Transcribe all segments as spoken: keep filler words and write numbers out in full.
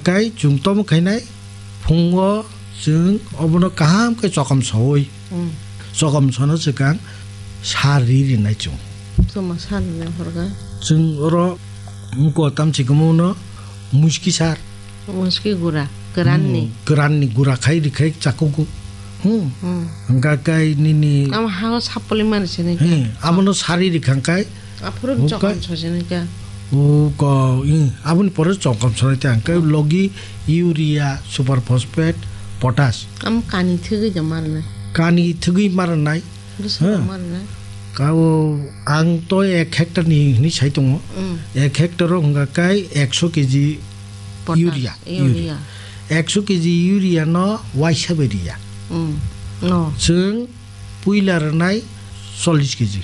Kai chwng tomo khainai phungo chwng obono kaham khe chokam sowi. Hmm. Chokam sono swkang sar ri rinai chwng. Chwngma sar rinai horkha. Chwng oro wngko tamchikma uno muski sar. Muski gura, kwranni. Hmm, kwranni gura khai ri khai chakugo. Hmm. Hmm. Hwnkha kai nini. Amo hao sapoli mani sini. Hmm, abono sari ri khangkai. Aphuru hwnkha chokam sojini kha. O ko, hmm, aboni pore chokam sonai ta hwnkhe logi urea, super phosphate, potash. Am kani thwgwi da marnai. Kani thwgwi marnai. Bwswk Hmm. marnai. Kao ang to ek hectare ni hinwi sai tongo. Hmm. Ek hectare o hwnkha kai ekso K G Potash, urea, urea. urea. Ekso K G urea no waisa bai riya. Hmm. No. Chwng puila rwnai chollish K G.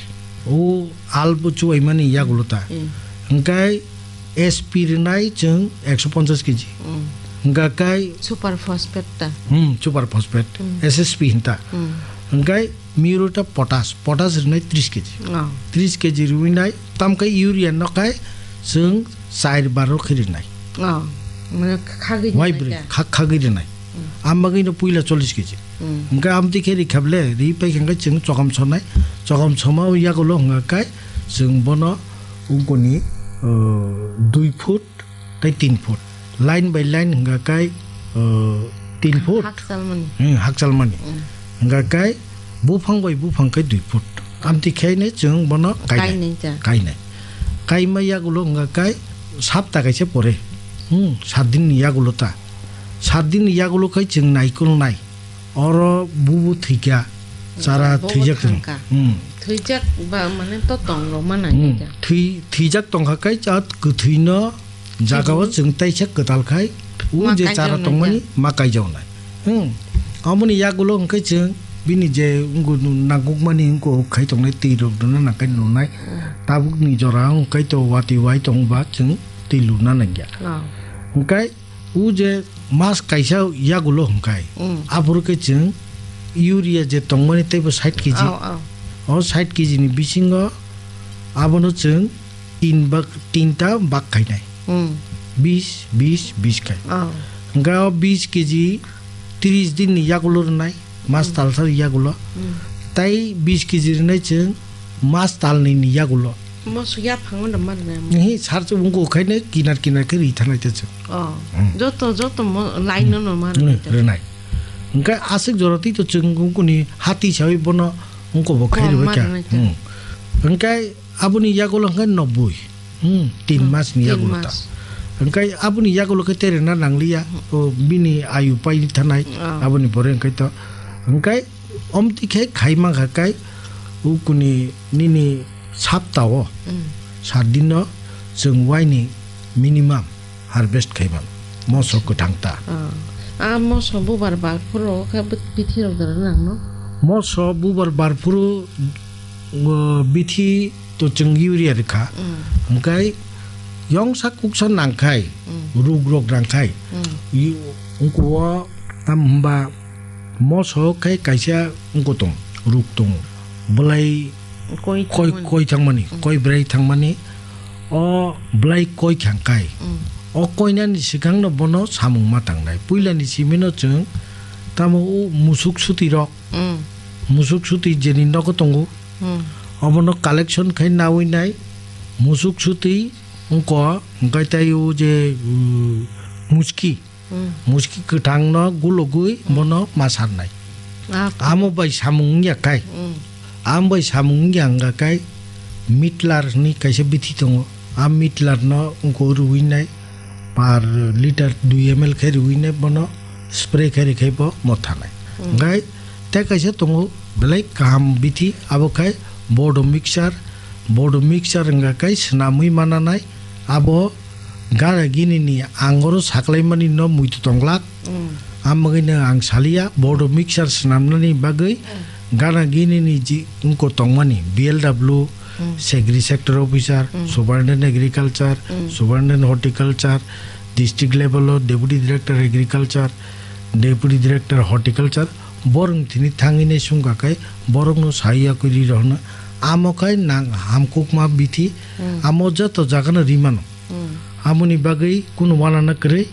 O albo chubaimani yagulo ta. Hmm. Hwnkhe S P rwnai chwng ekso ponchash K G. Hmm. Hwnkha kai Super phosphate ta. Hmm, super phosphate. Hmm. S S P hinta. Hmm. Hwnkhe muro ta potash, potash rwnai tris K G. Oh. Tris K G rwinai, tamkhe urea no kai chwng char baro khe rwnai. Oh. Mane khagwi Wai rwnai bwrwi, ta? Khak khagwi rwnai. Hmm. Am bagwi no puila chollish K G. Hmm. Hwnkhe amtwi khe ri khable, ri pai khe chwng chokam sonai, chokam soma yagulo hwnkha kai chwng bono ungkoni, uh, dui foot tei tin foot. Line by line hwnkha kai, uh, tin foot. Hakchalmani. Hmm, hakchalmani. Hmm. Hwnkha kai buphang bai buphang kai dui foot. Amtwi khe ne chwng bono kainai. Kainai ta. Kainai. Kaima yagulo hwnkha kai sapta kaisa pore. Hmm, sat din ni yagulo ta. Sat din ni yagulo khai chwng naikolnai. Oro bubu thwikha, chara Bo thwijak thang. thangkha. Hmm. Thwijak ba mane to tong rok ma nai Hmm. kha. Thwi-, thwijak tongkha kai chat kwthwino jagao Thwibo. chwng taisa kwtal khai, u Ma je chara kaijaknai tongmani kha. ma kaijaknai. Hmm. Aboni yagulo hwnkhe chwng bini je wngkunu nangkukmani wngkuk khai tongnai twi rok rwna nangkhe nunai. Hmm. Tabukni jora hwnkhe to watwi wai tongba chwng twi luna nangya. Oh. Hwnkhe u je mas kaisa yagulo hwnkhe, Mm. aphuru khe chwng urea je tongmani teibo sait K G. Oh, oh. O sait K G ni bisingo abono chwng tin bak, tinta bak khainai. Mm. Bis, bis, bis khai. Oh. Hwnkhe o bis K G tris din ni yagulo rwnai. Mas Hmm. talsa yagulo. Hmm. Tai bis K G rwnai chwng mas talnwi ni yagulo. Moso yaphango no ma rwnai. Hi sar chubung ko khaine kinar kinar khe ri thanai ta chwng. Oh. Hmm. Joto, joto mo-, line no no ma Hmm, rwnai ta. rwnai. Hwnkhe aswk jora twi to chwng wngkuni hati sawi bono wngko bo khai Oh, rwbai ma kha. rwnai ta. Hmm. Hwnkhe aboni yagulo hwnkhe noboi. Hmm, tin Hmm, mas ni tin yagulo ta. mas. Hwnkhe aboni yagulo khe terena nangliya. Hmm. O bini ayu pai thanai. Ah. Aboni pore hwnkhe to. Hwnkhe omtwi khe khai mankha kai ukuni nini saptao. Hmm. Sat dino chwng waini minimum harvest khai mano. Moso kwthang ta. Ah. Ah, moso bubar bar phuru khe bit-, bithi rok dara nangno? Moso bubar bar phuru, uh, bithi to chwng urea rwkha. Mm. Hwnkhe yongsa kuksa nangkhai, Mm. ruk rok nangkhai, Mm. yu-, wngkho o tam hwnba moso khe kaisa wngkho tong, ruk tongo. Belai Koi koi, thangmani. koi thangmani, Mm. koi bwrai thangmani. O belai koi khangkhai. Mm. O koinani swkangno bono samung ma tangnai. Puilani simino chwng tamo o musuk suti rok, Mm. Musuk suti jeni nogo tongo. Hmm. Obono collection khai nawi nai. Musuk suti wngko, hwnkhe tai o je, uh, muski. Hmm. Muski kwthangno gulogwi Hmm. bono ma sarnai. Ah. Amo bai samung wngya kai. Hmm. Amo bai samung wngya wngkha kai mitlar hwnwi kaisa bithi tongo. A mitlarno wngko rwui nai. Per litre dui M L khe riwi nai bono spray khe ri khai bo motha nai. Hmm. Hwnkhe tei kaisa tongo belai kaham bithi, abo khai Bodo mixture, Bodo mixture wngkha khai swnamwi mana nai, abo gana gini ni angoro saklai mani no muitu tonglak. Hmm. Amagwino ang salia, Bodo mixture swnamnani bagwi Hmm. gana gini ni ji wngko tongmani, B L W, Hmm. Agri Sector Officer, Hmm. Superintendent Agriculture, Hmm. Superintendent Horticulture, District level o Deputy Director Agriculture, Deputy Director Horticulture, borok thini thangwi nai sumkha khai borokno sai yakwi ri rohorno. Amo khai nang hamkukma bithi, Hmm. amo joto jagano ri mano. Hmm. Amoni bagwi kunu wanana kwrwi,